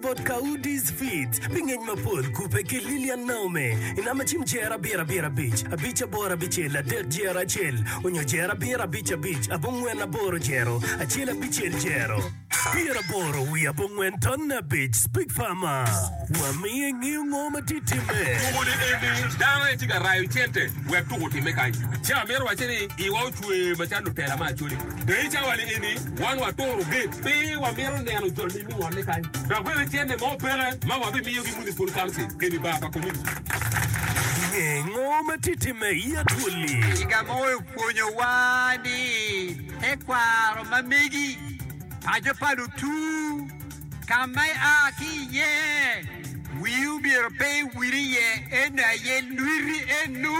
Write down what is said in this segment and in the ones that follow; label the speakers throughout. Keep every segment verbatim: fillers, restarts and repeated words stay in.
Speaker 1: bot Kaudi's Feeds pi ngec mapol kubbe ki Lilian Naome i namba cim jer abiro abiro abic abic aboro abicel adek jer acel onyo jer abiro abic abic abongwen aboro jero acel abicel jero pyeraboro wiye abongwen tonne abic Speak Farmer Wamiyo ingeyo ngo ma tye timme.
Speaker 2: Tuko ni eni dano aye tye ka rayo cente wek tuko otimme kany. Ci amito wacce ni iwa ocwer macalo lutela me Acholi. Dong i cawa ni eni wan waturo gate pe wamito neno jol-li me ngolle kany. Dok bene cente mo peke ma wabimiyogi Municipal Council eni bar pa community.
Speaker 1: Nge ngo ma tye timme i Acholi.
Speaker 3: Ciga mo opwonyowa ni tekwaro ma megi, paco pa lutu, ka ma ia ki iye, wii omyero pe iwil iye, eno aye lwiti enu.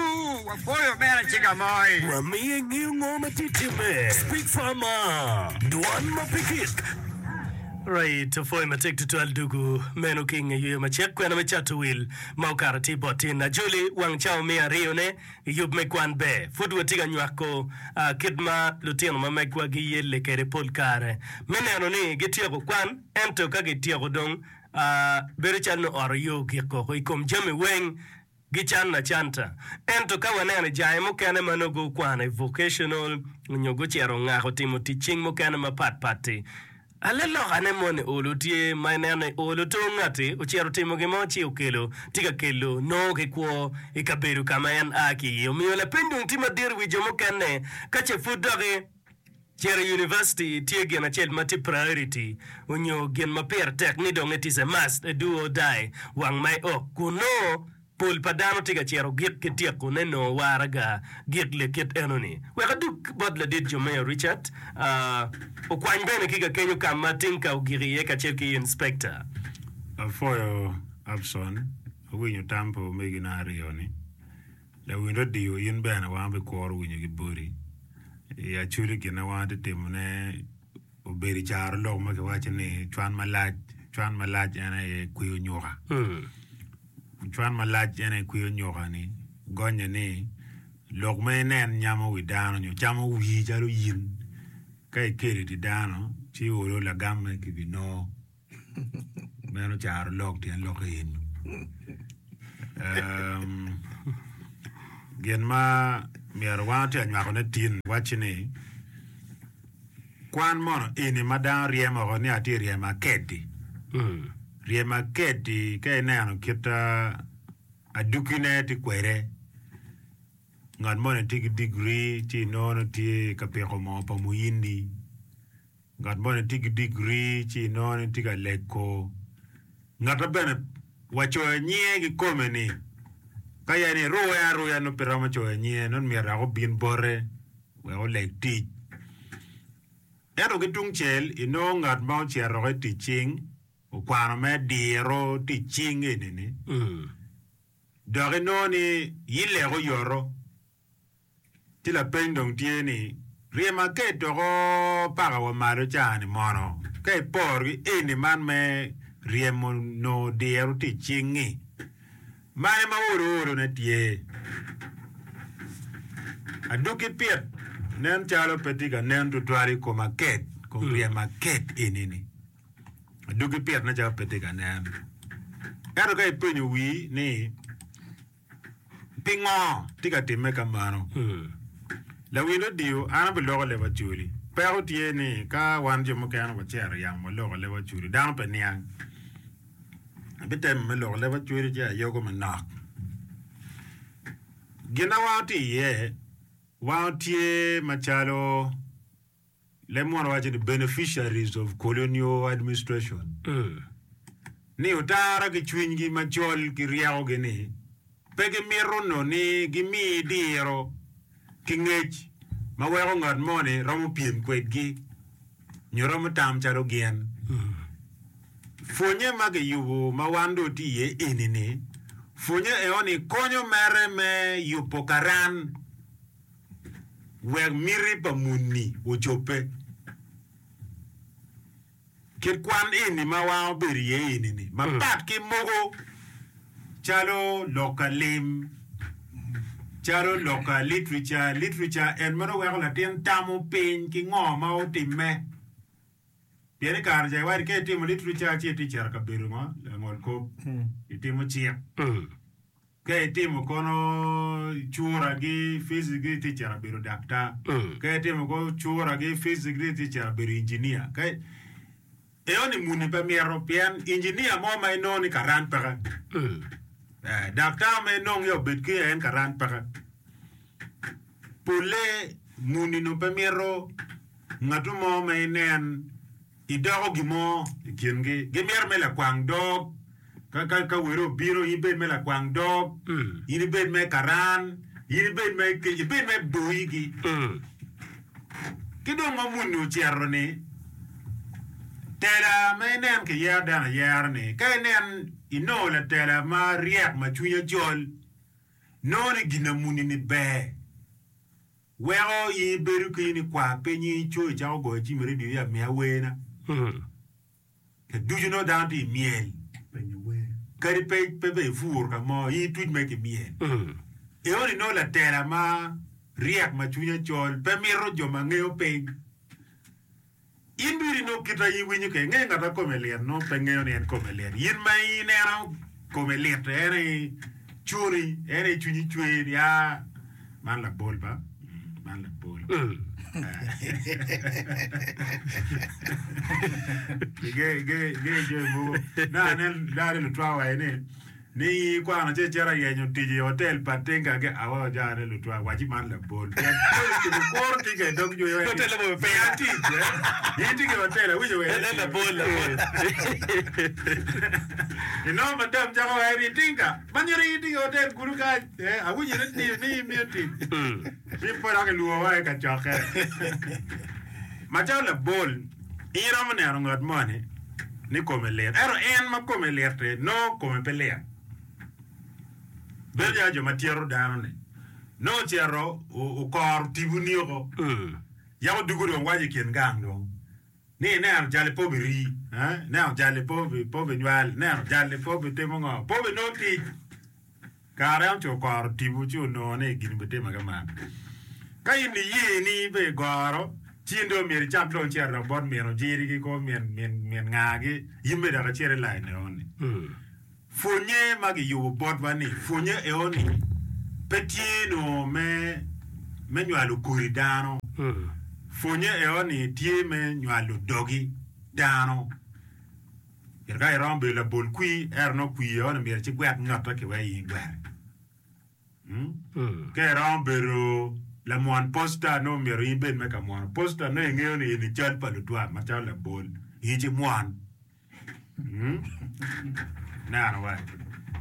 Speaker 3: Wapwoyo omera Ciga Moi.
Speaker 1: Wamiyo ingeyo ngo ma tye timme. Speak Farmer, Dwan ma pe gik. Right, opwoyo matek tutwal dugu meno ki inge yweyo macek kwena me cato wil ma okato tye bot tin. Ajoli wang cawa miya aryo ne i yub me kwan ber. Pud watye ka nywako kit ma lutino ma megwa giyelle kwede pol kare me neno ni gityeko kwan ento ka gityeko dong bedo calo ni ot oyo gik koko i kom jami weng gicanno acanta. Ento ka waneno i jange mukene ma nongo gukwano i vocational nyo gucito ongako timo tic cing mukene mapat pat-ti, Alalokane moni olo tye ma ineno ni olo to ngati ocito otimo gin mo ci okelo tye ka kelo nongo ki kwo i kabedo ka ma en a ki iye. Omiyo lapeny dong tye madit i wi jo mukene ka ce pud doki cito i university tye gin acel ma tye priority onyo gin ma pire tek ni dong it is a must a do or die wang ma iok kun nongo Pol pa dano tye ka cito gik ki tyeko ne nongo waraga gik lekit eno ni. Wek adug bot ladit Jomeo Richard okwany bene ki kakenyo ka ma Tinka ogik iye kacel ki Inspector.
Speaker 4: Apwoyo Abson, awinyo tam pa omegina aryo ni. Lawiny radio in bene wan wabikuro winyo ki boti. I Acholi gin ma wan watye timo ne obedo i caro lok ma kiwaco ni cwan malac, cwan malac en aye kweyo nyuka. Cwan malac en aye kweyo nyuka-ni gonye ni lok ma inen nyamo wi dano nyo camo wii calo in ka ikelo i dye dano ci olo lagamme kibinongo meno caro lok tyen lokke eni. Gin ma myero wan watye ka nywakone tin wacci ni kwan mono eni ma dano ryemo woko ni atye ryemo aked-di Ryemo aked-di ka ineno kit adugine tye kwede, ngat moni tye ki digiri ci inongo ni tye ka piko moo pa muyindi, ngat moni tye ki digiri ci inongo ni tye ka lego, ngate bene wacoyo nyinge kikome-ni ka ya ni iruye aruya nongo pe romo coyo nyinge nongo myero dok obin bote wek oleg tic. Ento ki tungcel, inongo ngat ma ocito i tic cing okwano me diro tic cing eni-ni, dok inongo ni yilek oyoto. Ci lapeny dong tye ni, ryem aked doko paka wa malo ca-ni mono? Ka iporo ki eni man me ryemo nongo diro tic cing-ngi, Mane ma olo olone tye? Adwogi pit nen calo pe tye ka nen tutwal i kom aked, kom ryemo aked eni-ni. Adwogi pit nen calo pe tye ka nen. Ento ka ipenyo wii ni pingo tye ka timme ka meno, lawil odiyo an abiloko leb Acholi. Peko tye ni ka wan jo mukene wacito yamo waloko leb Acholi dano pe niang. Abitemo me loko leb acweri ci ayogo manok. Gin ma wan watye iye, wan watye macalo leb munu waco ni beneficiaries of colonial administration. Ni otara ki cwinygi macol ki ryekogi ni pe gimito nongo ni gimi diro ki ngec ma weko ngat moni romo pyem kwedgi nyo romo tam calo gin. Pwonye ma kiyubo ma wan dong watye iye eni-ni, pwonye eno-ni konyo mere me yubo karan wek miti pa muni ocobbe. Kit kwan eni ma wan wabedo iye eni-ni mapat ki mogo calo lok ka lim, calo lok ka literature, literature en meno weko latin tamo piny ki ngo ma otimme. Pien i kare ca iwaco ka itimo literature ci itye cito kabedo mo langol kop itimo cik. Ka itimo kono cura gi physics gi itye cito bedo daktar. Ka itimo kono cura gi physics gi itye cito bedo engineer. Ka eo ni muni pe mito pien engineer mo ma inongo ni karan peke. Eh, daktar ma inongo ni obed ki en karan peke. Polle muni no pe mito ngatu mo ma inen idoko gin mo i kingi. Gimito me lakwang dog. Ka, ka, ka welo obino, in ibed me lakwang dog, in ibed me karan, in ibed me, ibed me boyigi. Ki dong ma muni ocito-ni, tela ma inen kiyero dano ayera-ni, ka inen inongo latela ma ryek ma cwinye col, nongo ni gin amuni-ni ber. Weko in ibedo ki in ikwar piny in ico icako goyo cim i redio ya miya werna. Ka ducu nongo dano tye i myel. Kadi pe pe be ipur ka mo, in ituc mere ki myel. Eo ni nongo latela ma ryek ma cwinye col pe mito jo ma ngeyo piny. In biri nongo kita in iwinyo ke inge ngat ma kome lit nongo pe ngeyo ni en kome lit. In ma ineno kome lit en aye cuni, en aye cwinyi cwer ni aa man labol ba, man labol. Inge inge inge jami mogo nongo anen nongo anen lutwa waco ni ni in ikwano ci icito ayenyo tic i hotel pa tinga ki awa oja ane lutwa waci man labol pien kuro tinga i dog jwi
Speaker 1: Hotel labol pe.
Speaker 4: miya tic eh in tye ki hotel awinjo wene
Speaker 1: En labol labol.
Speaker 4: Inongo madam cako waco ni tinga ma nyuto in tye ki hotel kunu kany eh awinjo ni ni imiyo tic Ci pe dok ilwongowa i kacokke. Macalo labol, in iromo neno ngat moni ni kome lit, ento en ma kome lit-ti nongo kome pe lit. Bedo calo jo ma tyeto dano-ni, nongo ocito okoro tipo-ni oko, yako dugo dong waco i kin gang dong ni ineno jali pe obirii, ineno jali pe obinywal, ineno jali pe obitimo ngo, pe obinongo tic. Kare en oco okoro tipo ci onongo ni gin obitime kuman. Ka in iye ni ibe igoro, ci in dong myero icak dong cito dok bot min ojiri ki kor min min min ngagi, in bene dok icit i lain eoni. Pwonye ma giyubo botwa ni pwonye eoni pe tye nongo me me nywalo kodi dano. Pwonye eoni tye me nywalo dogi dano. Myero ka iromo bedo labol kwir, ento nongo kwir eno myero ci gwek ngate ki wek in igwere. Ka iromo bedo lamwon posta, nongo myero in ibed me ka mwono posta, nongo ingeyo ni eni cal pa lutwa macalo labol, in ci mwon. Ineno wa?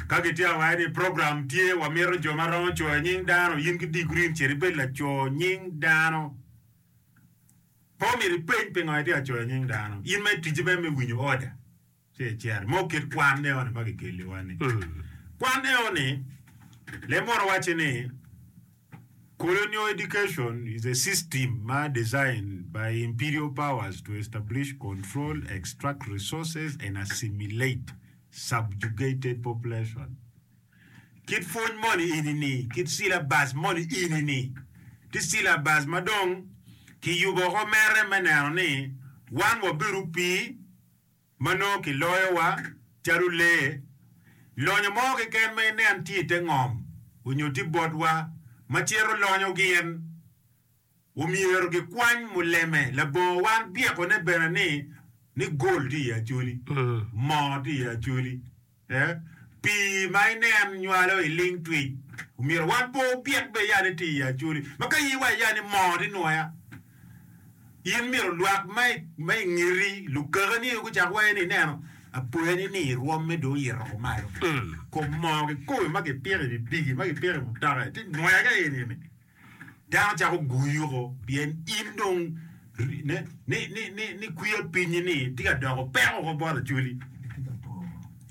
Speaker 4: Ka gitye awaci ni program tye, wamito jo ma romo coyo nying dano, in ki digrii cit ibed laco nying dano. Pe omyero ipeny pingo itye ka coyo nying dano. In ma ticci mere me winyo oda ci icito. Mo kit kwan eoni ma kikeliwa ni. Kwan eoni leb mono wacci ni colonial education is a system ma designed by imperial powers to establish control, extract resources and assimilate subjugated population. Kit pwony moni eni-ni, kit cilabac moni eni-ni, tye cilabac ma dong kiyubo woko mere me neno ni wan wabedo opii ma nongo kiloyowa calo lee. Lonyo mo keken ma inen tye i te ngom onyo tye botwa ma cito lonyo gin, omyero gikwany muleme labongo wan byekone bene ni ni gold tye i Acholi, moo tye i Acholi. Pii ma inen nywalo i ling twic, omyero wan pe obyek be ya ni tye i Acholi. Ma ka in iwaco ya ni moo tye nwoya, in myero lwak ma i ngeti, lukakani aye gucak waco ni ineno apoya ni ni rwomme dong oyito woko malo. Kom moo kikome ma kipiko i pikipiki, ma kipiko i mutoka tye nwoya ka eni-ni. Dano cako guyi woko pien in dong ni kwiya pinyi ni tye ka doko peko woko bot Acholi.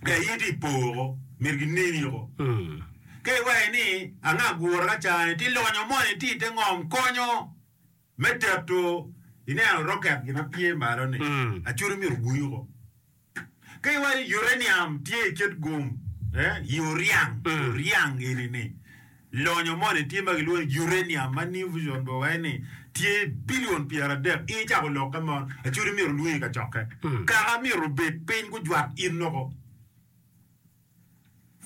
Speaker 4: Ee, in itye i po woko, myero gineni woko. Ka iwaco ni anga gura ka cani ti lonyo moni tye i te ngom konyo me teto ineno roket gin ma pye malo ni Acholi myero oguyi woko. Ka iwaco ni uranium tye i kit gum, i oryang, oryang eni ni lonyo moni tye ma gilwongo ni uranium ma New Vision bene waco ni Tye bilion pyeradek in icako lokke mon Acholi myero olwongi ka cokke. Kaka myero obed piny gujwak in loko.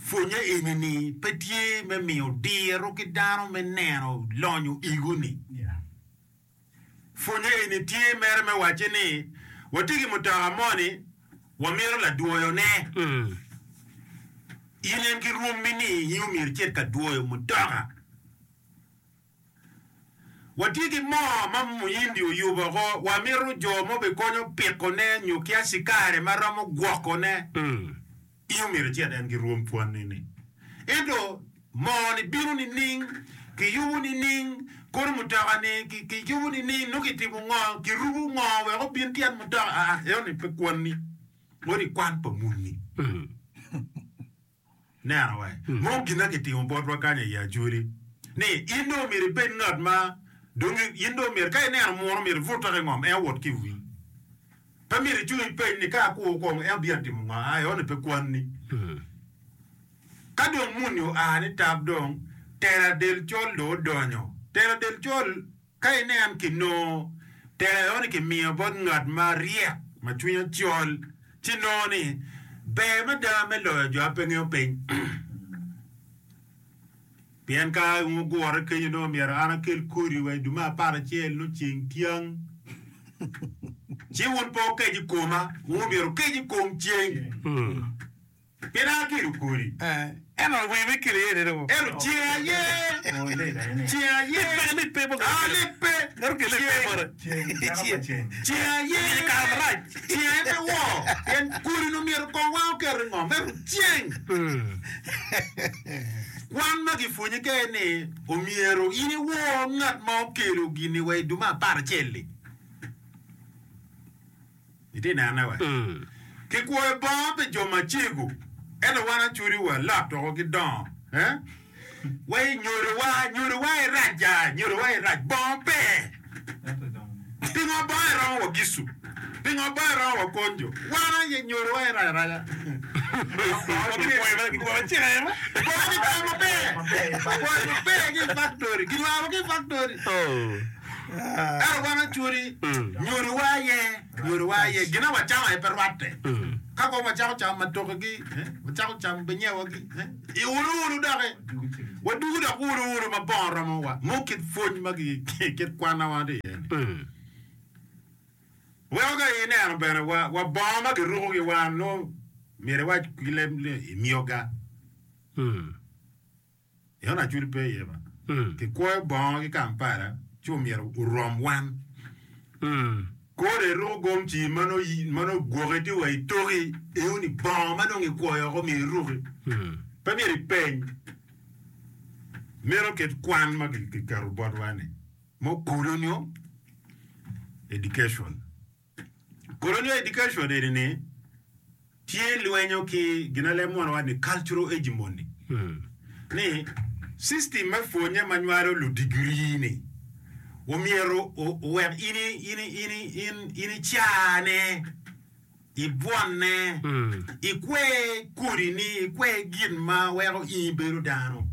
Speaker 4: Pwonye eni-ni pe tye me miyo diro ki dano me neno lonyo ego-ni. Pwonye eni tye mere me wacce ni watye ki mutoka moni wamito ladwoyone. In en ki rwommi ni in omyero icit ka dwoyo mutoka. Watye ki moo ma Muyindi oyubo oko, wamito jo ma obikonyo pikone nyo ki acikari ma romo gwokone. In omyero icit en ki rwom pwonni-ni. Ento moo-ni bino nining? Kiyubo nining? Kono mutoka-ni kiyubo nining? Nongo kitimo ngo? Kirubo ngo wek obin tyen mutoka? Aa, eno-ni pe kwanni, odi kwan pa muni. Neno wa mo gin ma kitimo botwa kany i Acholi ni in dong myero ibed ngat ma dong in dong myero ka ineno muno myero ibut dok i ngom en owot ki i wii. Pe myero icung ipeny ni ka akur kong en obino timo ngo aa eno ni pe kwanni. Ka dong muni oa ni tap dong tela del col dong odonyo. Tela del col Ka inen kinongo tela eno ni kimiyo bot ngat ma ryek ma cwinye col, ci nongo ni ber mada me loyo jo ma pe ngeyo piny. Pien ka wugure kenyo nongo myero an akel kodi wa i dwe me apar acel nongo ceng tyang, ci wun pe wukec i koma, wun myero wukec i kom ceng. Pien an akelo kodi.
Speaker 5: Ento wer me kelo iye ni.
Speaker 4: Ento ceng aye, ceng aye, aa lippe, ceng, ceng aye, ceng aye pe wor, pien kodi-nu myero kong wang oket i ngom, ento ceng. Kwan ma gipwonyi kene ni omyero in iwor ngat ma okelo gin-ni wa i dwe me apar acel-li. Itye nene wa? Kikwoyo bongo pi jo macego, ento wan Acholi wa lot woko ki dongo. Eh? Wa i nyodowa, nyodowa i rac ja, nyodowa i rac, bongo pe. Pingo bongo iromo wa gicu? Pingo bongo iromo wa konjo? Wan aye nyodowa i rac araca. Bongo kikwoyo maber, kikwoyo maber ki i factory, kinywaro ki i factory. Ento wan Acholi, nyodowa aye, nyodowa aye, gin ma wacamo aye pe rwatte. Ka kong wacako camo matokegi, wacako camo binyewagi, i ulu ulu doki, wadugo dok ulu ulu ma bongo romowa. Mo kit pwony ma kit kwanna wan tye iye-ni. Weko ka ineno bene wa, wa bongo ma kirukogi wan nongo myero iwac ki leb ni imyoga. Ento Acholi pe iye ba. Kikwoyo bongo ki Kampala ci omyero orom wan. Kore iruko gomci ma nongo gwoki tye wa i toki eno ni bongo ma dong ikwoyo oko myero iruki. Pe myero ipeny. Meno kit kwan ma kiketo botwa ni mo colonial education. Colonial education eni ni tye lwenyo ki gin aleb mono waco ni cultural hegemony ni system me pwonye ma nywalo ludigiri ni omyero owek in in in in in icane ibwonne ikwer kodi ni ikwer gin ma weko in ibedo dano.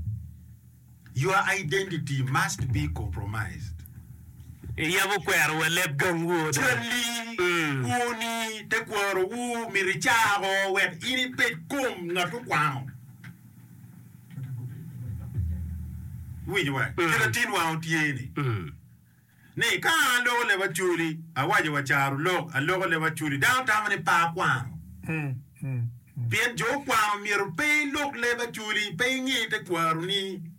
Speaker 4: Your identity must be compromised.
Speaker 1: Iyabo kwero wa leb gangwu oda.
Speaker 4: Calli, kwoni, tekwarowu myero icako wek in ibed kom ngat okwano. Iwinyo wa? Kit atin wang otye ni, ni ka an aloko leb Acholi, awaco wa caro lok, aloko leb Acholi, dano tamo ni pe akwano. Pien jo okwano myero pe ilok leb Acholi, pe inge tekwaroni.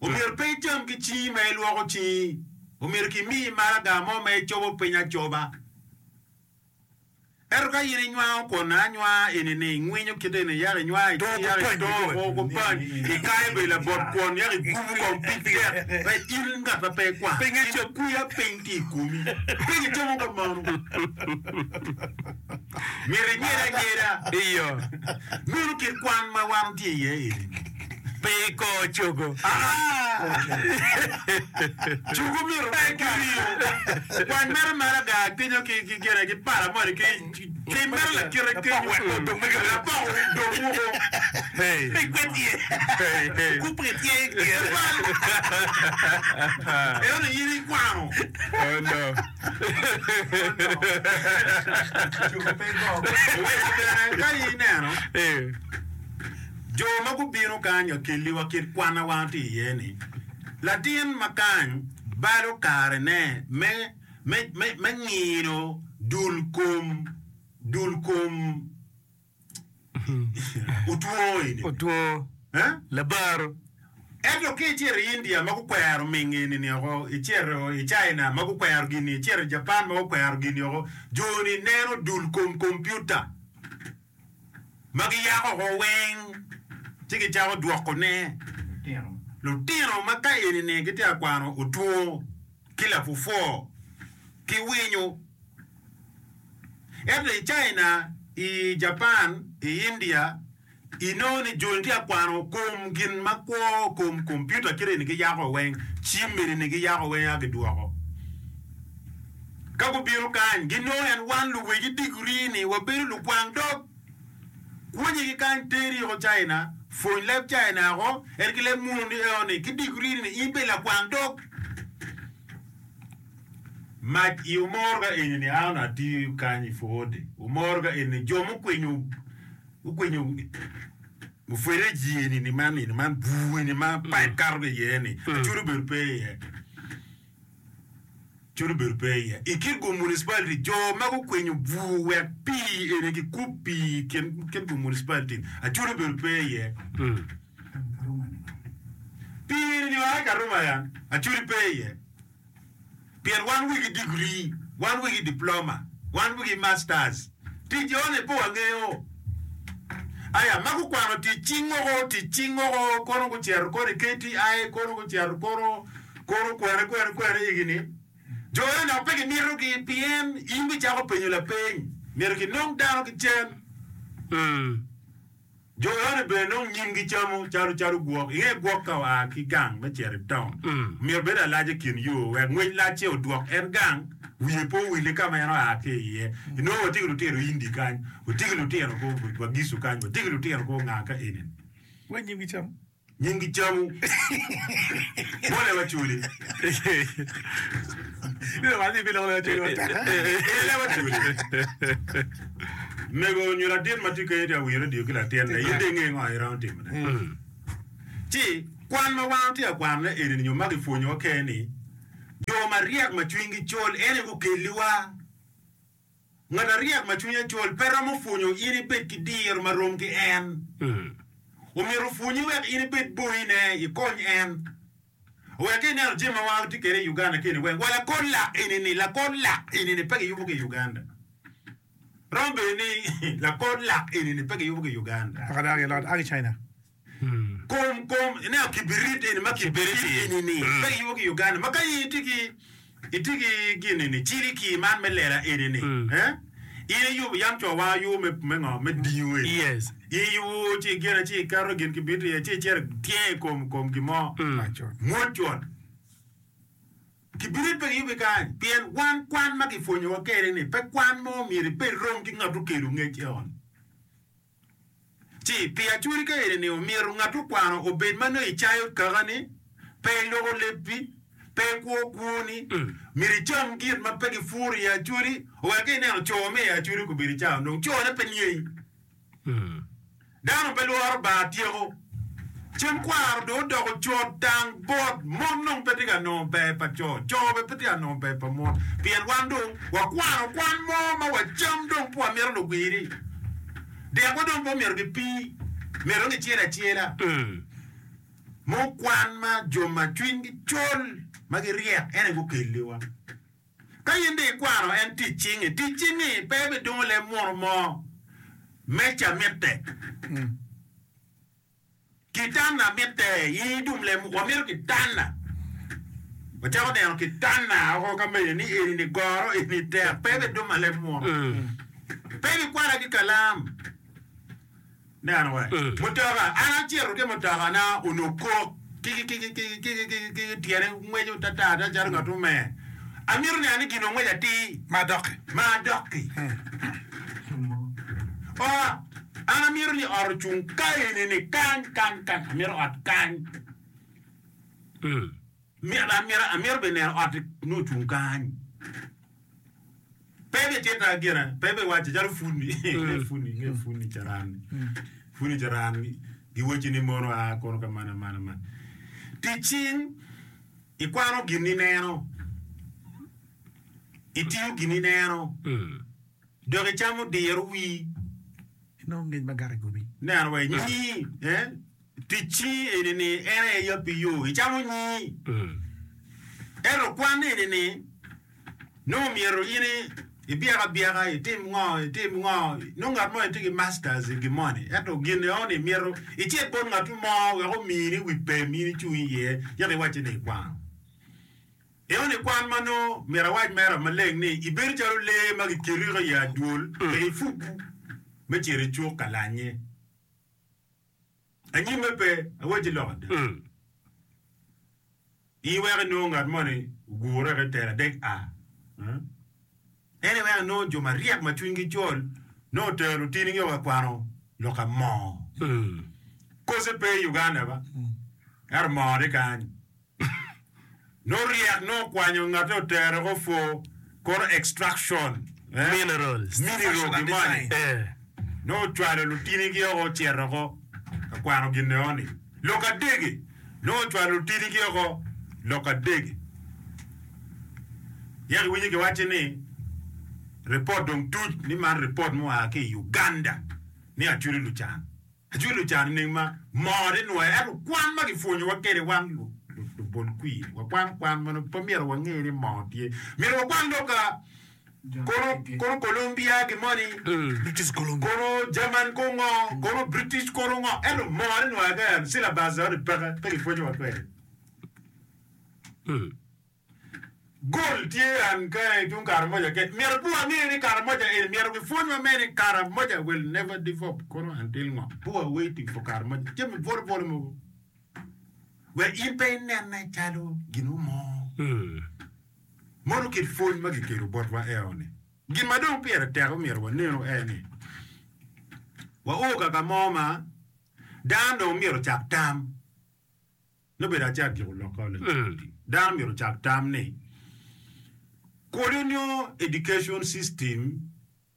Speaker 4: Omyero pe icam ki cingi ma ilwoko cingi. Omyero kimiyi maraga mo ma icobo piny acoba. Ento ka in inywango kwon anywaa eni ni ingwinyo kite eni yako inywaa icing yako itongo woko kupany ikayo bedo labot kwon yako igubu kong pig tek pe in ngat ma pe ikwano in kwiya piny tye ikomi pe gicomo ka mano myero inyed anyeda meno kit kwan ma wan watye iye eni.
Speaker 1: Pe ikor cogo.
Speaker 4: Cogo myero pe ki ringo. Kwany mere maraga kenyo ki ki gine ki pala moni ki Tim mere lakite kenyo lapok dong woko. Eno ni in ikwano. Oweko bene ka ineno jo ma gubino kany akelliwa kit kwanna wan tye iye ni latin ma kany balo karene me me me me ngino dul kom dul kom otwo eni.
Speaker 1: Otwo.
Speaker 4: Eh?
Speaker 1: Labaro.
Speaker 4: Ento ka icito i India ma gukwero ming eni-ni oko, icito i China ma gukwero gin-ni, icito i Japan ma gukwero gin-ni oko, jo-ni neno dul kom kompiuta ma giyako oko weng ci gicako dwokone. Lutino ma ka eni-ni gitye ka kwano otwo ki lapwopwo ki winyo. Ento i China, i Japan, i India, inongo ni joni tye ka kwano kom gin ma kwo, kom kompiuta kit eni giyako weng, cim eni giyako weng aka gidwoko. Ka gubino kany, ginongo en wan luwegi digiri ni wabedo lukwang dog. Kwonyegi kany teri oko China, pwony leb China oko, en ki leb muno ni eo ni ki digiri ni in bed lakwang dog. Mac i omoro ka eni ni an atiyo kany i pwode. Omoro ka eni jo mukwinyo gukwinyo mufereji eni ni man eni man bur eni ma pipe kato ki iye ni acudo obedo pe iye. Acudo obedo pe iye. I Kitgum municipality jo ma gukwinyo bur wek pii eni gikub pii i kin Kitgum municipality acudo obedo pe iye. Pii eni ni oa i Karuma ya acudo pe iye. Pien wan wigi digri, wan wigi diploma, wan wigi masters. Tic eno-ni pe wangeyo. Aya, ma gukwano tic cing woko, tic cing woko, kono gucito kono i K T I, kono gucito kono, kono kwene, kwene, kwene igi-ni. Jo eno dok pe gimitogi pien in bicako penyo lapeny. Myero kinong dano ki cen. Jo eno bene nongo nyimgi camo calo calo gwok. Inge gwok ka oa ki gang me cito i town, myero obed alac i kin yo wek ngwec lacce odwok en gang, wiye pe owil ka ma en oa ki iye. Inongo watye ki lutino Indi kany, watye ki lutino ko Wagisu kany, watye ki lutino ko nga ka eni.
Speaker 5: Wek nyimgi camo.
Speaker 4: Nyimgi camo. Mole waculi. Ele waculi. Mego nyo latin ma tye kenyo tye ka winyo radio ki latinne, in dong inge ngo iromo timone. Ci kwan ma wan watye ka kwanone eni nyo ma kipwonyowa kene-ni, jo maryek ma cwinygi col en aye gukelliwa. Ngat aryek ma cwinye col pe romo pwonyo in ibed ki diro ma rom ki en. Omyero opwonyi wek in ibed boyine, ikony en. Wek ka ineno jami ma wan watye kwede i Uganda keni weng, wa lakor lak eni-ni, lakor lak eni-ni pe kiyubo ki i Uganda. Romo bedo ni lakor lak eni-ni pe kiyubo ki i Uganda.
Speaker 5: Paka dano gilot a ki China.
Speaker 4: Kom kom ineno kibirit eni ma kibirit eni-ni pe kiyubo ki i Uganda. Ma ka in itye ki itye ki gin eni ciliki man me lela eni-ni, eh? In iyubo yam co wa ayubo me me ngo me dingo eni.
Speaker 1: Yes.
Speaker 4: In iyubo ci igene ci iketo gin kibit iye ci icito ityengo i kom kom gin mo. Mwot cut. Kibirit pe kiyubo i kany pien wan kwan ma kipwonyowa kwede ni pe kwan mo myero ibed rom ki ngat okelo ngec eon. Ci pi acwali ka eni ni omyero ngat okwano obed ma nongo icayo kakani, pe iloko lebbi, pe ikwo kwoni, myero icam gin ma pe gipuro i acwali, wek ka ineno co me i acwali gubedo icayo dong cone pe nyei. Dano pe lworo bar tyeko. Cem kwaro dong odoko co tang bot mon dong pe tye ka nongo ber pa co, co bene pe tye ka nongo ber pa mon. Pien wan dong wakwano kwan mo ma wacam dong pe wamito lugwiri. Dekwa dong pe omyero gipii, myero dong gicel acela. Mo kwan ma jo ma cwinygi col ma giryek en aye gukelliwa. Ka in dong ikwano en tic cingi, tic cingi pe bidungo leb muno mo, meca mitte. Kitanda mitte, in idum leb, wamito kitanda. Wacako neno kitanda oko ka mene ni eni ni goro, eni tek, pe biduma leb muno. Pe bikwala ki kalam. Neno we, mutoka, an acito ki mutokana onongo kok kiki kiki kiki kiki kiki kiki tyene ngweco tata ata calo ngat omer. Amito neno ni gin ongweco atir
Speaker 5: Ma doki.
Speaker 4: ma adok-ki. Ot, an amito ni ot ocung ka eni-ni kany, kany, kany, amito ot kany. Myero amito, amito bene neno ot nongo ocung kany. Pe ibitita gire, pe ibiwaco calo puni, inge puni, inge puni caran, puni caran giwacci ni mono a kono ka man, man, man. Tic cing, ikwano gin ineno, itiyo gin ineno. Dok icamo diro wii.
Speaker 5: Inongo ngec ma gato i komi.
Speaker 4: Neno wa nyi, eh? Tic-ci eni ni en aye yabbi yo, icamo nyi. Ento kwan eni ni nongo myero in ibyek abyeka, itim ngo, itim ngo. Nongo ngat moni tye ki masters i gin moni, ento gin eno-ni myero icit bot ngat mo wek omini wi pem in icung iye, yaka iwacce ni ikwano. Eno ni kwan ma nongo myero awac mera maleng ni ibedo calo lee ma gikiriko i adwol wek ipuku me cito i cuk ka lanye. Anyimme pe, awacci lok ada. Iweko inongo ngat moni ogure ki telo adek a. En iweko inongo jo maryek ma cwinygi col nongo otero lutinigi wa kwano lok ka moo. Kose pe i Uganda ba, ento moo tye kany. Nongo ryek nongo okwanyo ngate otere ko for kono extraction eh,
Speaker 1: Minerals.
Speaker 4: mineral
Speaker 5: and
Speaker 4: gi moni.
Speaker 5: design.
Speaker 1: Eh.
Speaker 4: Nongo ocwalo lutinigi oko ocito oko ka kwano gin eno-ni. Lok adegi nongo ocwalo lutinigi oko lok adegi. Yaka iwinyo kiwacci ni ripot dong tuc ni man ripot mua ki i Uganda ni acwali lucan. Acwali lucan nining ma moo tye nwoyo ento kwan ma kipwonyowa kwede wan lubol kwir wakwan kwan ma nongo pe myero wange ni moo tye. Myero wakwan lok ka kono kono Columbia gi moni
Speaker 5: British Columbia.
Speaker 4: kono German ko ngo kono British kono ngo ento moo tye nwoyo ka en syllabus eno ni peke pe kipwonyowa kwede. Gold tye an ka i tung Karamoja kec myero pe wange ni Karamoja eni myero gipwonywa me ni Karamoja will never develop kono until ngo pe wa waiting for Karamoja jami bwolo bwolo mogo wek in pe inene calo gino mo mono kit pwony ma gikelo botwa eo ni gin ma dong pire tek myero wanenu en ni wao kaka mo ma dano dong myero ocak tam Nongo bedo acak giko lokka Dano myero ocak tam ni colonial education system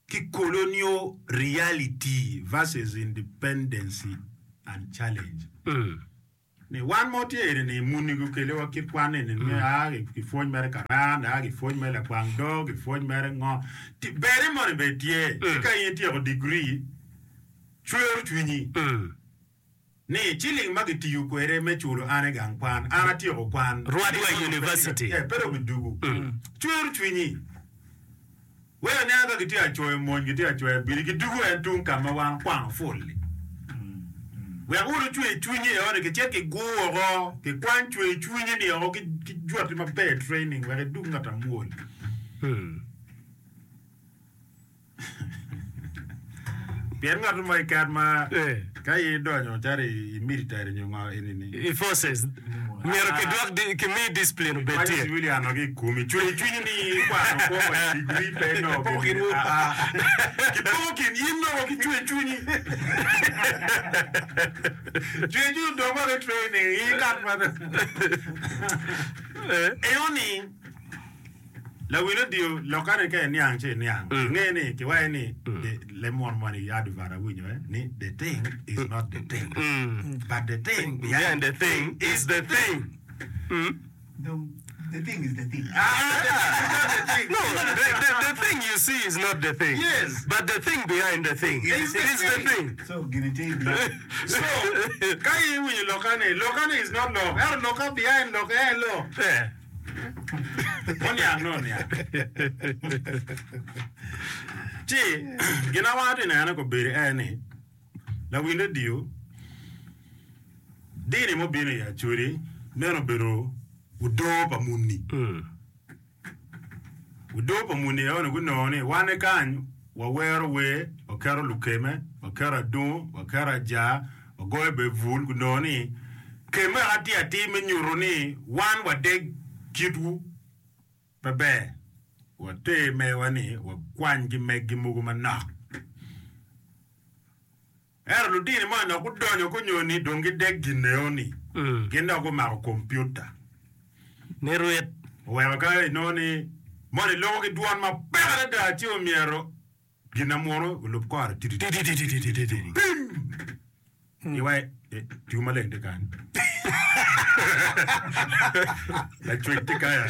Speaker 4: ki colonial reality versus independency and challenge. Ni wan mo tye eni ni muni gukeliwa kit kwan eni ni a gipwony mere karan, a gipwony mere lakwang dog, gipwony mere ngo. Ti- Bene moni bene tye. Ci ka in ityeko degree, cwero cwinyi. Ni ciling ma gitiyo kwede me culo an i gang kwan, an atyeko kwan.
Speaker 1: Rwadwa University.
Speaker 4: Eh, pe dong gidugu. Cwero cwinyi. Wek aniang ka gitye ka coyo mony, gitye ka coyo abili, gidugu en tung ka ma wan okwano pul-li. Wek wun ocwe cwinyi i ot-ni, kicit kigur woko, kikwany cwe cwinyi-ni woko ki ki jwati maber training wek idug ngat amwol. Pien ngat mo keken ma ka in idonyo calo i military nyo ngo eni-ni,
Speaker 1: I forces myero kidwok di- kimi discipline obed
Speaker 4: kwanyo
Speaker 1: tye.
Speaker 4: civilian woko ki i komi, cweyo cwinyi ni ikwano kwo wa i degree pe inongo gin aa. Kipoko kin in nongo ki cweyo cwinyi. Cweyo cwinyi odong woko i training i kat ma Eno-ni Lawil odiyo lokane ka iniang ci iniang. Inge ni kiwaco ni the lemon moni i advert awinyo eh, ni the thing is not the thing but the thing behind
Speaker 1: the thing is the thing.
Speaker 5: Dong, the thing is the thing.
Speaker 4: Ah, the thing is not the thing.
Speaker 1: No, the, the, the thing you see is not the thing.
Speaker 4: Yes.
Speaker 1: But the thing behind the thing
Speaker 4: Is the
Speaker 1: is the
Speaker 4: thing.
Speaker 1: thing.
Speaker 5: So, gini tye i biye.
Speaker 4: So, ka in iwinyo lokane, lokane is not lok. Ento loka behind lok en lok.
Speaker 1: Eh.
Speaker 4: Oniang nongo oniang. Ci gin ma wan watye ka nene kobedo en ni lawil redio dini mubino i Acholi meno obedo odoo pa muni. Odoo pa muni eno gunongo ni wan kany wawero wer, waketo lukeme, waketo adungu, waketo ajaa, wagoyo bene bul, gunongo ni keme wek atir atir me nyuto ni wan wadeg kitwu pe ber, water mewa ni wakwany ki meggi mogo manok. lutini mo dok gudonyo kunyo ni dong gidek gineo ni
Speaker 1: Mm.
Speaker 4: gin dok gumako kompiuta
Speaker 1: Ni rwit.
Speaker 4: oweko ka inongo ni moni loko ki dwon mapek adada ci omyero gin na muno olub kore
Speaker 1: Ti, ti, ti, ti, ti, ti, ti, ti.
Speaker 4: iwa tiyo maleng tye kany lacwec tye kanya.